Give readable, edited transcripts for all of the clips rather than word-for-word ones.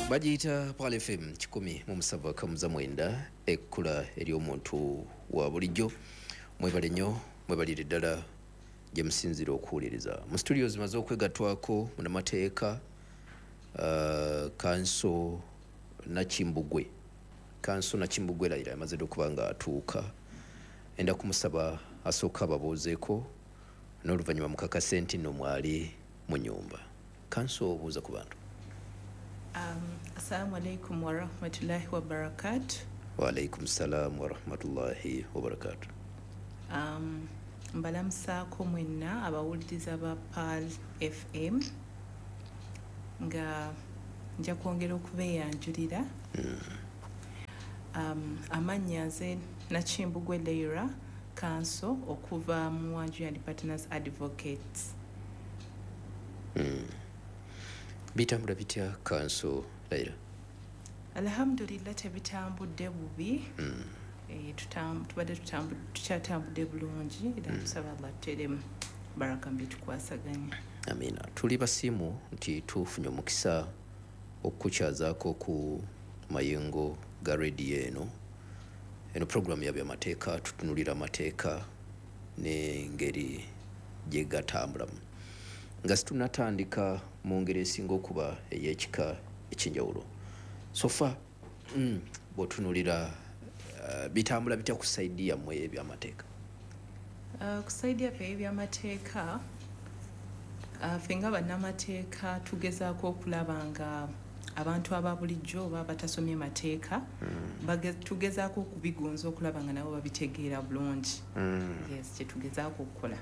Bagiyita Pearl FM 107.9, ekkula ery'omuntu wa bulijjo. Mwebale nnyo, mwebalire ddala gye musinziira okuwuliriza. Mu studio zimaze okwegattwako munnamateeka Kanso Nakimbugwe. Kanso Nakimbugwe Layira yamaze dda okuba nga atuuka. Enda kumusaba asooka ababuuzeeko n'oluvannyuma mukakase nti nno mwali mu nnyumba. Kanso, obuuza ku bantu. Assalamu alaikum warahmatullahi wabarakatu. Waalaikum salaamu warahmatullahi wabarakatu. Mbalamusaako mwenna abawuliriza ba Pearl FM, nga nja kwongera okubeeyanjulira. Amannya nze Nakimbugwe Leira, Kanso okuva mu Wanjuya and Partners Advocates. Bitambula bitya, Kanso Leira? Alhamdulillah, tebitambudde bubi. Tubadde tukyatambudde bulungi era tusaba Allah tuteremu baraka mbitukwasaganya. Amiina. Tuli basiimu nti tufunye omukisa okukukyazaako ku mayengo ga rediyo eno. Eno puroguramu ya byamateeka, tutunulira amateeka n'engeri gye gatambulamu. Nga situnatandika mu ngeri esinga okuba ey'ekika ekyenjawulo, so far bw'otunulira bitambula bitya ku side yammwe ey'ebyamateeka? Ku side yaffe ey'ebyamateeka, ffe nga bannamateeka tugezaako okulaba nga abantu aba bulijjo oba abatasomye mateeka tugezaako okubigonza okulaba nga nabo babitegeera bulungi. Yes, kyetugezaako okukola.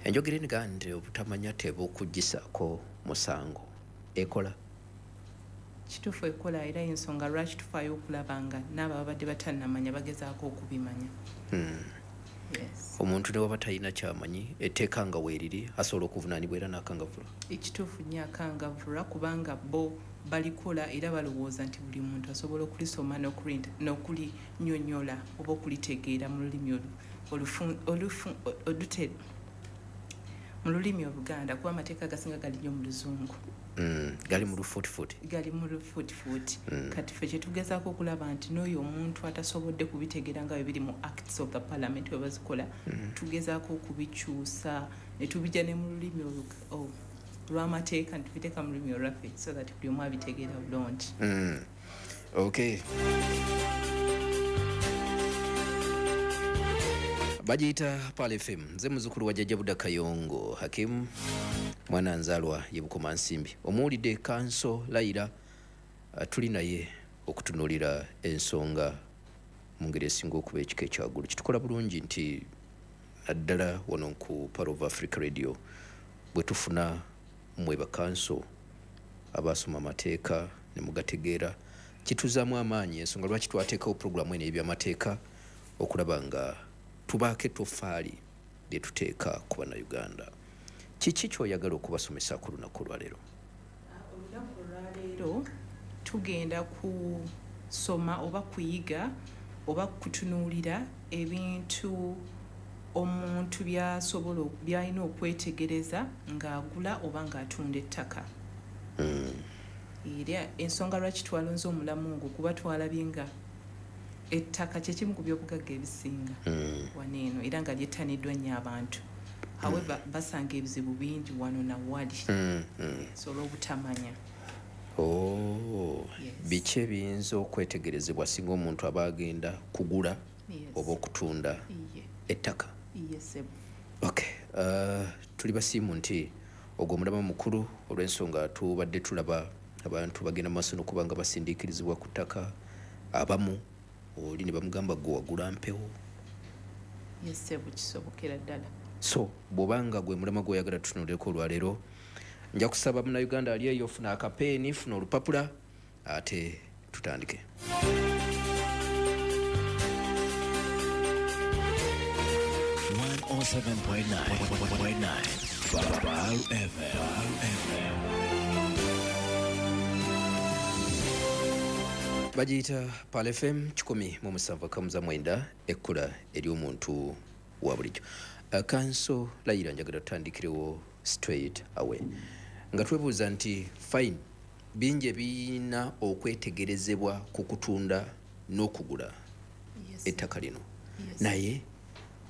Enjogera eniga nti obutamanya tebukugisaako musango ekola? Kituufu, ekola, era ensonga lwaki tufaayo okulaba nga n'abo ababadde batannamanya bagezaako okubimanya. Yes. Omuntu ne waba talina kyamanyi, etteeka nga weeriri, asobola okuvunaanibwa era n'akangavvulwa? Ekituufu nnyo, akangavvulwa, kubanga bo balikola era balowooza nti buli muntu asobola okulisoma n'okulinyonyola oba okulitegeera mu lulimi mu lulimi Oluganda, kuba amateeka agasinga gali nnyo mu Luzungu. Gali mu lufuutifuuti. Gali mu lufuutifuuti. Kati ffe kyetugezaako okulaba nti n'oyo omuntu atasobodde kubitegeera nga bwe biri mu Acts of the Parliament bwe bazikola, tugezaako okubikyusa ne tubijja ne mu lulimi olw'amateeka, ne tubiteeka mu lulimi olwaffe so that buli omu abitegeera bulungi. Okay, bagiyita Pearl FM. Nze muzukulu wa Jjajja Buda Kayongo Hakimu, mwana nzaalwa ye Bukoma Nsimbi. Omuwulidde Kanso Layira, tuli naye okutunuulira ensonga mu ngeri esinga okuba ekika ekyaggulu. Kitukola bulungi nti naddala wano ku Pearl of Africa Radio bwe tufuna mmwe bakanso abasoma amateeka ne mugategeera, kituzaamu amaanyi. Ensonga lwaki twateekawo puroguramu eno ey'ebyamateeka, okulaba nga tubaako ettofaali lye tuteeka ku Bannayuganda. Kiki ky'oyagala okubasomesa ku lunaku olwaleero? Olunaku olwaleero tugenda kusoma oba kuyiga oba kutunuulira ebintu omuntu byasobola, byalina okwetegereza ng'agula oba ng'atunda ettaka. Era ensonga lwaki twalonze omulamu ogwo, kuba twalabye nga ettaka kyekimu ku byobugagga ebisinga wano eno era nga lyettaniddwa nnyo abantu. However, basanga ebizibu bingi wano nawali, so olw'obutamanya. Oh, Yes. biki ebiyinza okwetegerezebwa singa omuntu aba agenda kugula oba okutunda ettaka? Iye sebo. Okay, tuli basiimu nti ogwo omulama mukulu, olw'ensonga tubadde tulaba abantu bagenda mu maaso n'okuba nga basindiikirizibwa ku ttaka. Abamu oli ne bamugamba, "Gwe wagula mpewo." Yes sebo, kisobokera ddala. So bw'obanga gwe mulama gw'oyagala tutunulireko olwaleero, nja kusaba Munnayuganda ali eyo, funa akapeeni, funa olupapula, ate tutandike. 107.9 Pearl FM. FM. Bagiyita Pearl FM 107.9, ekkula ery'omuntu wa bulijjo. Kanso Layira, njagala tutandikirewo straight away nga twebuuza nti fine, Bingi ebirina okwetegerezebwa ku kutunda n'okugula ettaka lino. Naye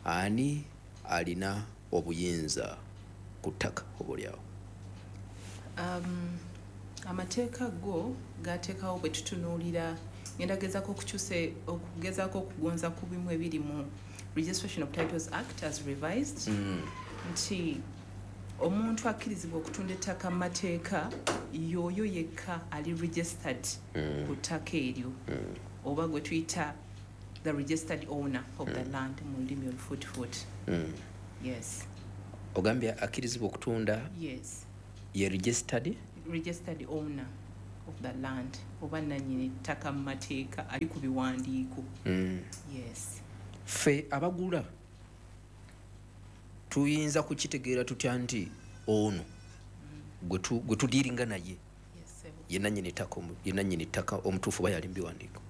ani alina obuyinza ku ttaka oba oliawo? Amateeka go gateekawo, bwe tutunuulira, ngenda gezaako okukyusa, okugezaako okugonza ku bimu ebiri mu Registration of Titles Act as revised, nti omuntu akkirizibwa okutunda ettaka mu mateeka y'oyo yekka ali registered ku ttaka eryo, oba gwe tuyita the registered owner of the land mu lulimi olufuutifuuti. Yes. Ogambye akkirizibwa okutunda ye registered registered owner of the land, oba nanyini ttaka mu mateeka ali ku biwandiiko. Yes. Ffe abagula tuyinza kukitegeera tutya nti ono gwe tudiiringa naye Yes, sebo. ye nannyini ttaka omutuufu oba yali mu biwandiiko?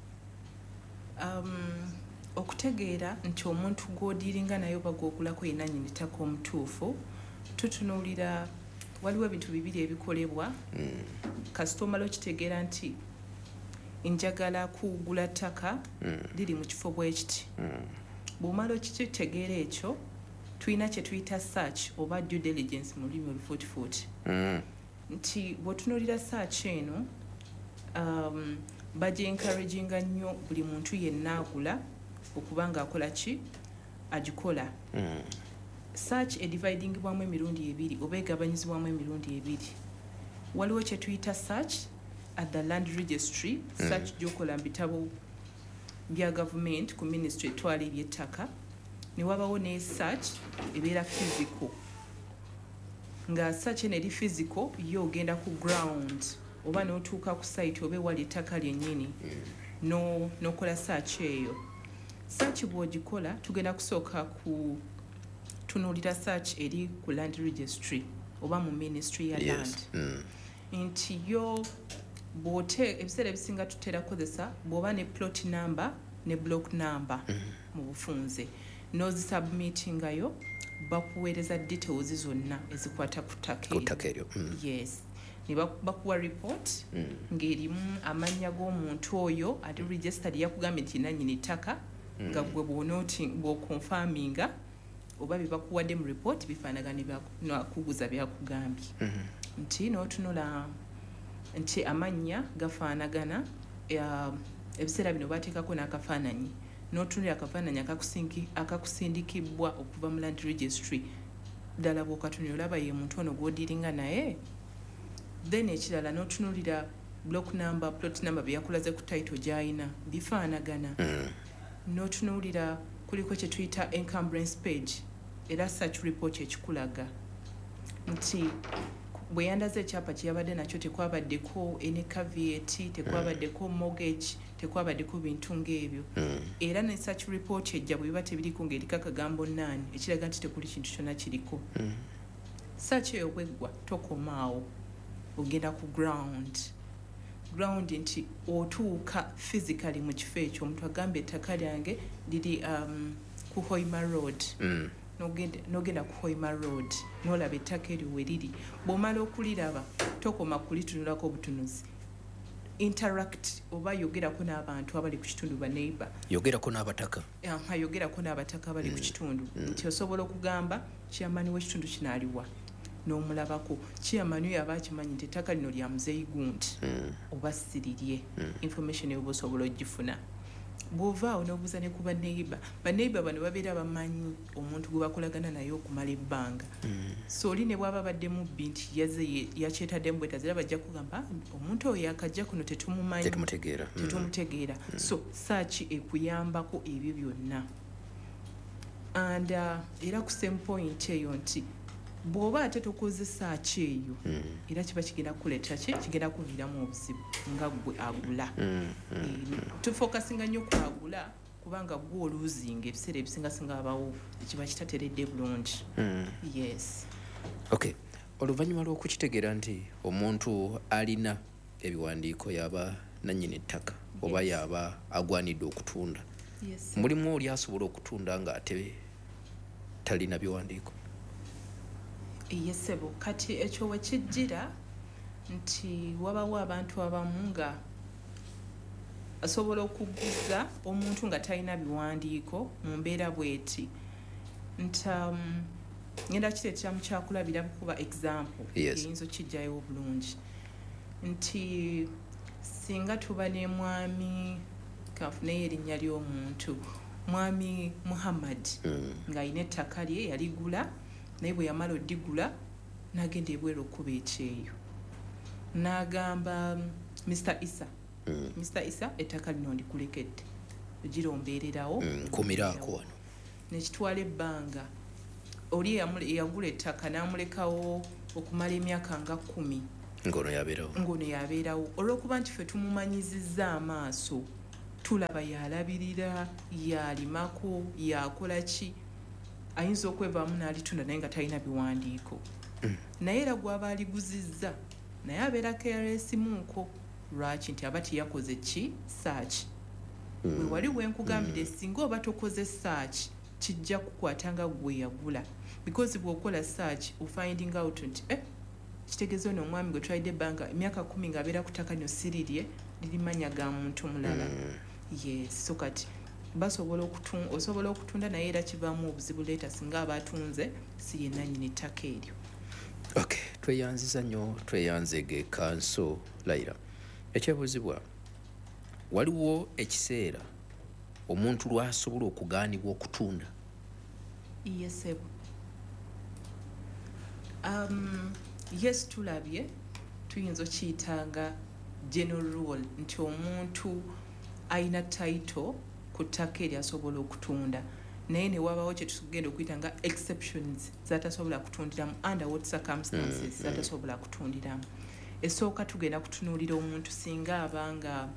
Okutegeera nti omuntu gw'odiiringa naye oba gw'ogulako ye nannyini ttaka omutuufu, tutunuulira, waliwo ebintu bibiri ebikolebwa. Kasita omala okitegeera nti njagala kugula ttaka liri mu kifo bwe kiti, bw'omala okitegeera ekyo, tulina kye tuyita search oba due diligence mu lulimi olufuutifuuti, nti bw'otunuulira search eno, bagyencouraginga nnyo buli muntu yenna agula okuba nga akola ki, agikola. Search edividingibwamu emirundi ebiri oba egabanyizibwamu emirundi ebiri. Waliwo kye tuyita search at the land registry, search gy'okola mu bitabo bya gavumenti ku ministry etwala ebyettaka, ne wabawo ne search ebeera physical. Nga search eno eri physical, yo ogenda ku ground oba n'otuuka ku site oba ewali ettaka lyennyini n'okola search eyo. Search bw'ogikola, tugenda kusooka ku tunuulira search eri ku land registry oba mu ministry ya land, nti yo bw'ote, ebiseera ebisinga tutera kukozesa bw'oba ne plot number ne block number mu bufunze n'ozisubmitingayo, bakuweereza details zonna ezikwata ku ttaka Ku eryo. ttaka eryo. Yes, ne bakuwa report ng'erimu amannya g'omuntu oyo ali registered, yakugambye nti nannyini ttaka, nga gwe bw'oconfirminga oba bye bakuwadde mu report bifaanagana ne nakuguza byakugambye, nti n'otunula nti amannya gafaanagana. Ebiseera bino bateekako n'akafaananyi, n'otunulira akafaananyi akakusindikibwa okuva mu land registry, ddala bw'okatunula olaba ye muntu ono gw'odiringa naye. Then ekirala, n'otunulira block number, plot number bye yakulaze ku title gy'ayina bifaanagana. N'otunuulira kuliko kye tuyita encumbrance page, era search report ekikulaga nti bwe yandaze ekyapa kye yabadde nakyo tekwabaddeko any caveat, tekwabaddeko mortgage, tekwabaddeko bintu ng'ebyo. Era ne search report ejja bwe biba tebiriko ng'eriko akagambo none, ekiraga nti tekuli kintu kyonna kiriko. Search eyo bweggwa, tokomaawo, ogenda ku ground, nti otuuka physically mu kifo ekyo. Omuntu agamba ettaka lyange liri ku Hoima Road. N'ogenda ku Hoima Road n'olaba ettaka eryo we riri. Bw'omala okuliraba, tokoma kulitunulako obutunuzi, interact oba yogerako n'abantu abali ku kitundu, baneighbor. Yogerako n'abataka. Aha, yogerako n'abataka abali ku kitundu, nti osobola okugamba chairman w'ekitundu kino aliwa, n'omulabako. Chairman oyo aba akimanyi nti ettaka lino lya muzeeyi gundi oba sirirye. Information eyo oba osobola ogifuna. Bw'ovaawo n'obuuza ne ku baneighbor. Baneighbor bano babeera bamanyi omuntu gwe bakolagana naye okumala ebbanga. So oli ne bw'aba abadde mubbi nti yazze yakyetaddemu bwetazi, era bajja kugamba, "Ah, omuntu oyo yakajja kuno, tetumumanyi." Tetumutegeera. Tetumutegeera. So search ekuyambako ebyo byonna. And era ku same point eyo, nti bw'oba ate tokoze search eyo, era kiba kigenda kukuleetera ki, kigenda kuviiramu obuzibu nga ggwe agula. Tufokasinga nnyo ku agula kubanga gwe oluuzinga ebiseera ebisinga singa abawo ekiba kitateredde bulungi. Yes. Okay, oluvannyuma lw'okukitegeera nti omuntu alina ebiwandiiko yaba nannyini ttaka oba yaba agwanidde okutunda, mulimu oli asobola okutunda ng'ate talina biwandiiko? Yes, sebo. Kati ekyo wekijjira, Nti wabawo abantu abamu nga asobola okuguza omuntu nga talina biwandiiko mu mbeera bweti nti ngenda kireetera mu kyakulabira kuba example eyinza okijjayo obulungi, nti singa tuba ne mwami, kanfuneyo erinnya ly'omuntu, Mwami Muhammad, ng'alina ettaka lye yaligula, naye bwe yamala odigula n'agenda ebweru okuba ekyeyo, n'agamba Mr Isa, "Mr Isa, ettaka lino ndikulekedde, girombeererawo." Nkumiraako wano. Nekitwala ebbanga, oli eyagula ettaka n'amulekawo okumala emyaka nga 10. Ngono yabeerawo. Ngono yabeerawo, olw'okuba nti ffe tumumanyizizza amaaso, tulaba yalabirira, yalimako, yakola ki, ayinza okwevaamu n'alitunda naye nga talina biwandiiko. Naye era gwaba aliguzizza naye abeera careless munko. Lwaki? Nti aba teyakoze ki? Search. We wali wenkugambire, singa oba tokoze search, kijja kukwata nga gwe yagula, because bw'okola search ofinding out nti kitegeeza ono omwami gwe twalidde ebbanga emyaka 10 ng'abeera ku ttaka lino sirirye, liri manya ga muntu mulala. Yes, so kati basobola osobola okutunda, naye era kivaamu obuzibu later singa aba atunze si ye nannyini ttaka eryo. Okay, tweyanziza nnyo, tweyanzege Kanso Layira. Ekyebuuzibwa, waliwo ekiseera omuntu lwasobola okugaanibwa okutunda? Yes, yes, tulabye, tuyinza okiyitanga general rule nti omuntu alina title ku ttaka eryo asobola okutunda, naye ne wabawo kye tugenda okuyita nga exceptions zatasobola kutundiramu, under what circumstances zatasobola kutundiramu. Esooka, tugenda kutunuulira omuntu singa abanga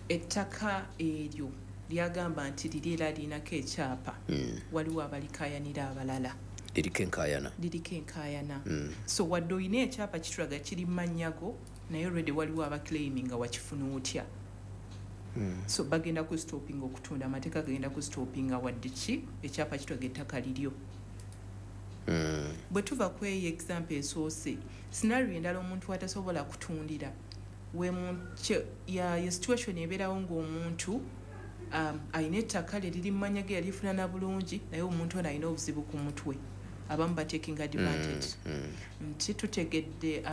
ettaka eryo lyagamba nti liri era lirinako ekyapa, waliwo abalikayanira abalala. Liriko enkaayana. Liriko enkaayana. So wadde olina ekyapa kitulaga kiri mu mannya go, naye already waliwo abaclaiming nga wakifuna otya. So bagenda ku stopping okutunda, amateeka gagenda ku stoppinga wadde ki ekyapa kitulaga ettaka liryo. Bwe tuva ku eyo example esoose, scenario endala omuntu atasobola kutundira ya situation ebeerawo ng'omuntu alina ettaka lye liri mu mannya ge, yalifunana bulungi, naye omuntu ono alina obuzibu ku mutwe, abamu bataking advantage. Nti tutegedde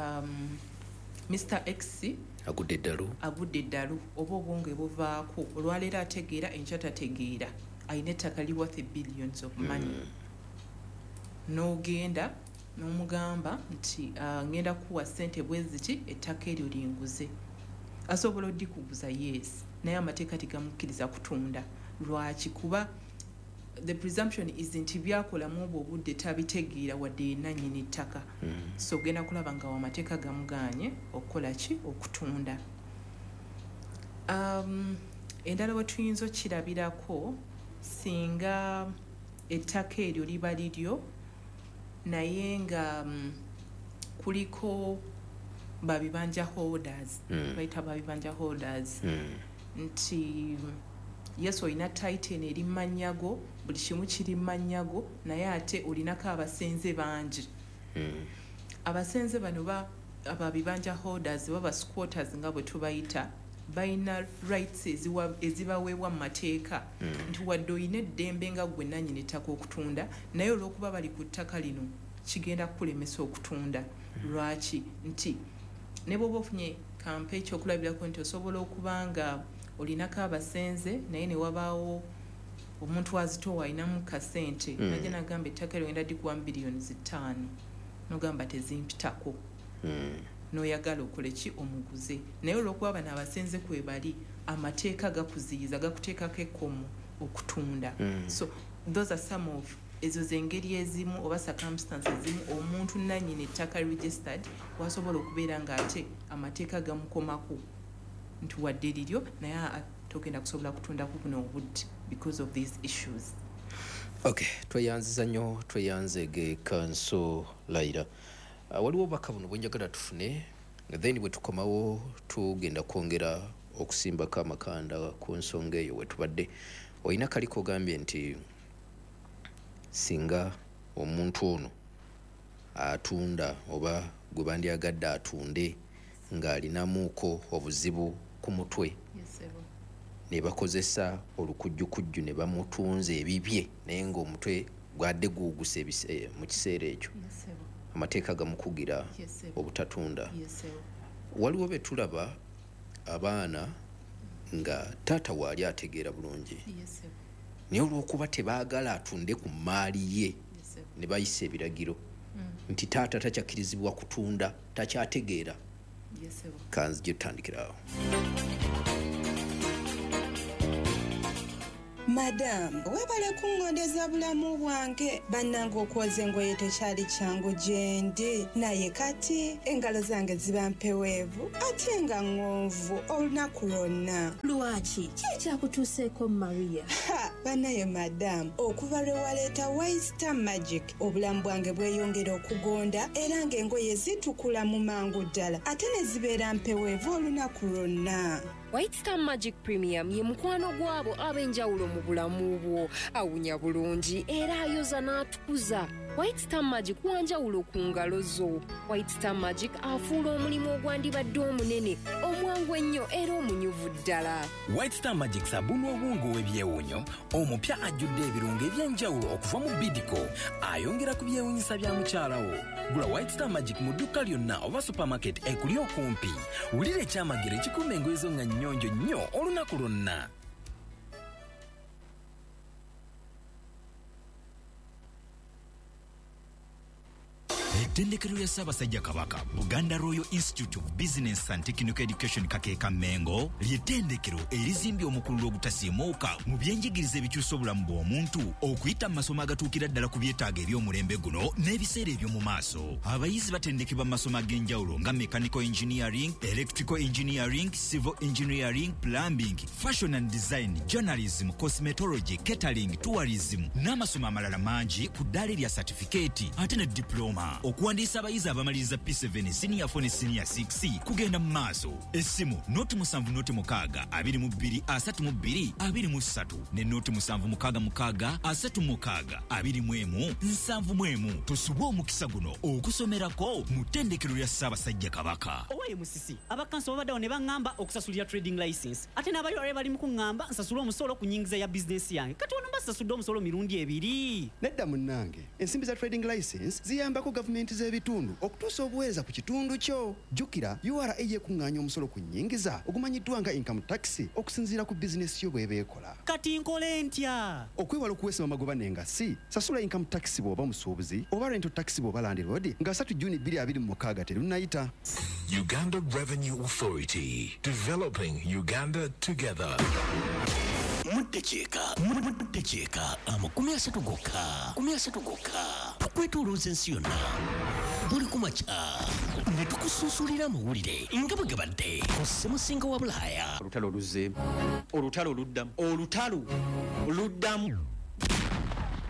Mr X agudde eddalu. Agudde eddalu oba obwonge buvaako, olwaleero ategeera, enkya tategeera, alina ettaka li worth billions of money. N'ogenda n'omugamba nti ngenda kuwa ssente bwe ziti, ettaka eryo linguze. Asobola oddikuguza, yes, naye amateeka tegamukkiriza kutunda. Lwaki? Kuba the presumption is nti byakolamu obwo obudde tabitegeera, wadde yenna nnyini ttaka. So ogenda kulaba nga amateeka gamuganye okukola ki? Okutunda. Endala we tuyinza okirabirako, singa ettaka eryo liba liryo naye nga kuliko babibanja holders, bayita babibanja holders, nti yes, olina title eri mu mannya go, buli kimu kiri mu mannya go, naye ate olinako abasenze bangi. Abasenze bano ababibanja holders, baba squatters nga bwe tubayita, balina rights ezibaweebwa mu mateeka, nti wadde olina eddembe nga gwe nannyini ttaka okutunda, naye olw'okuba bali ku ttaka lino kigenda kukulemesa okutunda. Lwaki? Nti ne bw'oba ofunye kampa ekyokulabirako nti osobola okuba nga olinako abasenze, naye ne wabaawo omuntu azitowa alinamu kasente, najja nagamba ettaka eryo ngenda dikuwa 5 biliyoni, nogamba tezimpitako, n'oyagala okole ki? Omuguze. Naye olw'okuba bano abasenze kwe bali, amateeka gakuziyiza, gakuteekako ekkomo okutunda. So those are some of ezo zengeri ezimu oba circumstances ezimu omuntu nannyini ettaka registered wasobola okubeera ng'ate amateeka gamukomako nti wadde liryo, naye togenda kusobola kutundako buno obudde because of these issues. Okay, tweyanziza nnyo, tweyanzege Kanso Layira. Waliwo obubaka buno bwenjagala tufune, then bwe tukomawo tugenda kwongera okusimbako amakanda ku nsonga eyo wetubadde. Olina kaliko ogambye nti singa omuntu ono atunda oba gwe bandyagadde atunde ng'alinamuuko obuzibu ku mutwe, ne bakozesa olukujjukujju ne bamutunza ebibye, naye ng'omutwe gwadde guwuguse mu kiseera ekyo. Amateeka gamukugira obutatunda. Waliwo be tulaba abaana nga taata waali ategeera bulungi, naye olw'okuba tebaagala atunde ku mmaali ye ne bayisa ebiragiro nti taata takyakkirizibwa kutunda, takyategeera. Kanzije tutandikirawo. Madamu, webale kungondeza bulamu bwange. Bannange okwoza engoye tekyali kyangu gye ndi, naye kati engalo zange ziba mpeweevu ate nga ŋŋonvu olunaku lwonna. Lwaki? Ki ekyakutuuseeko, Maria? Ha, bannaye madamu, okuva lwe waleeta White Star Magic, obulamu bwange bweyongera okugonda era ng'engoye zitukula mu mangu ddala ate ne zibeera mpeweevu olunaku lwonna. White Star Magic Premium ye mukwano gw'abo ab'enjawulo mu bulamu bwo. Awunya bulungi era ayoza n'atukuza. White Star Magic wanjawulo ku ngalo zo. White Star Magic afuula omulimu ogwandibadde omunene, omwangu ennyo era omunyuvu ddala. White Star Magic sabuni obwongo w'ebyewuunyo omupya ajjudde ebirungo eby'enjawulo okuva mu Bidco, ayongera ku byewuunyisa bya mukyala wo. Gula White Star Magic mu dduuka lyonna oba supermarket ekuli okumpi. Wulira ekyamagero ekikuuma engoye zo nga nnyonjo nnyo olunaku lwonna. Ettendekero lya Ssaabasajja Kabaka, Buganda Royal Institute of Business and Technical Education Kakeeka Mengo, ly'ettendekero erizimbye omukululo ogutasiimuuka mu byenjigiriza ebikyusa obulamu bw'omuntu okuyita mu masomo agatuukira ddala ku byetaago eby'omulembe guno n'ebiseera eby'omu maaso. Abayizi batendekebwa mu masomo ag'enjawulo nga mechanical engineering, electrical engineering, civil engineering, plumbing, fashion and design, journalism, cosmetology, catering, tourism n'amasomo amalala mangi ku ddaala erya satifikeeti ate ne diploma. Okuwandiisa abayizi abamaliriza P7, senior 4 ne senior 6 kugenda mu maaso. Essimu 076 22 32 23 ne 0766 36 21 71. Tosubwa omukisa guno okusomerako mu ttendekero lya Ssaabasajja Kabaka. Owaye Musisi, abakanso babaddewo ne baŋŋamba okusasulira trading license, ate n'abayolale bali mu kuŋŋamba nsasule omusolo ku nnyingiza ya bizinesi yange. Kati wano mba sasudde omusolo mirundi ebiri. Nedda munnange, ensimbi za trading license ziyambako gavumenti z'ebitundu okutuusa obuweereza ku kitundu kyo. Jjukira URA yekuŋŋaanya omusolo ku nnyingiza ogumanyiddwa nga income tax okusinziira ku bizinesi yo bw'eba ekola. Kati nkole ntya? Okwewala okuweesebwa amagoba n'engassi, sasula income tax bw'oba musuubuzi oba rental tax bw'oba landlord nga 3 Juni 2026 terunnayita. Uganda Revenue Authority, developing Uganda together. Muddakiika muddakiika 30 gokka 30 gokka tukwetoolooza ensi yonna buli ku makya ne tukusunsulira amawulire nga bwe gabadde ku ssemusinga wa Bulaaya. Olutalo luzzeemu, olutalo luddamu, olutalo luddamu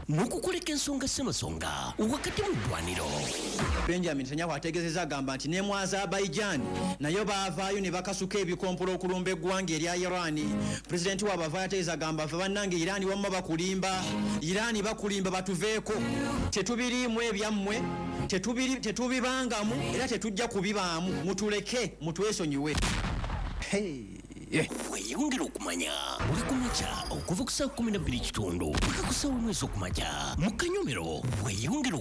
n'okukoleka ensonga ssemasonga wakati mu ddwaniro. Benjamin Netanyahu ategeezezza agamba nti ne mu Azerbaijan nayo baavaayo ne bakasuka ebikompola okulumba eggwanga erya Iran. Pulezidenti waabwe avaayo ategeeza agamba ffe bannange Iran wamma bakulimba, Iran bakulimba, batuveeko, tetubiriimu ebyammwe, tetubibangamu era tetujja kubibaamu, mutuleke mutwesonyiwe. Weeyongere okumanya buli ku makya okuva ku ssaawa 12 kitundu paka ku ssaawa 1 ez'okumakya mu kanyomero. Weeyongere.